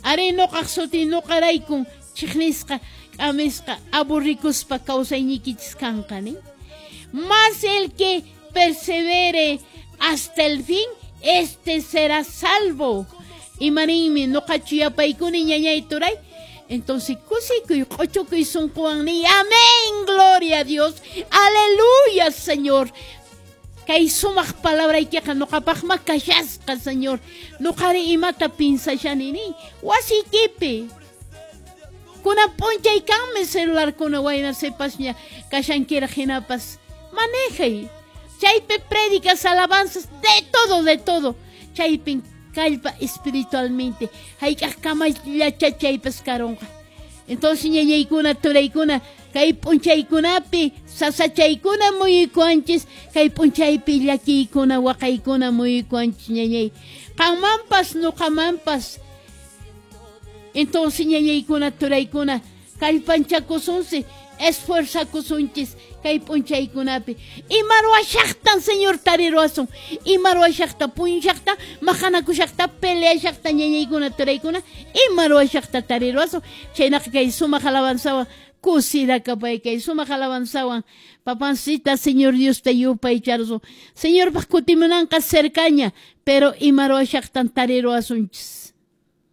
Arí, noqaq sutin noqaraykun chiqnisqa, k'amisqa, aburrikuspa kawsaynikichis kanqa nin. Mas el que persevere hasta el fin, este será salvo. Imaninmi noqachu yapaykuni, ñañay, turay? Entonces kusikuy, q'ochukuy sunquwan niy: "Amén, gloria a Dios, aleluya, Señor. Kay sumaq palabraykiqa noqapaqma kashasqa, Señor. Noqari imata pinsashani" niy. Wasiykipi kunan p'unchay kanmi celularkuna, wayna sipasña kashankiraq hinapas manejay. Chaypi prédicas, alabanzas, de todo, de todo. Chaypin kallpa espiritualmente hayk'aq kamallacha chaypas karunqa. Entonces, ñañaykuna, turaykuna, kay p'unchaykunapi sasachaykuna muyuykuwanchis, kay p'unchaypi llakiykuna, waqaykuna muyuykuwanchis, ñañay. Qanmanpas, nuqamanpas. Entonces, ñañaykuna, turaykuna, kallpanchakusunsi, esfuerzakusunchis kay p'unchaykunapi. Ima ruwashaqtan Señor tariruwasun? Ima ruwashaqta, puñushaqta, maqanakushaqta, peleashaqta, ñañaykuna, turaykuna, ima ruwashaqta tariruwasun? Chaynaqa kay sumaq alabanzawan kusirakapay, kay sumaq alabanzawan papancita Señor Diosta yupaycharusun. Señorpaq kutimunanqa cercaña, pero ima ruwashaqtan tariruwasunchis?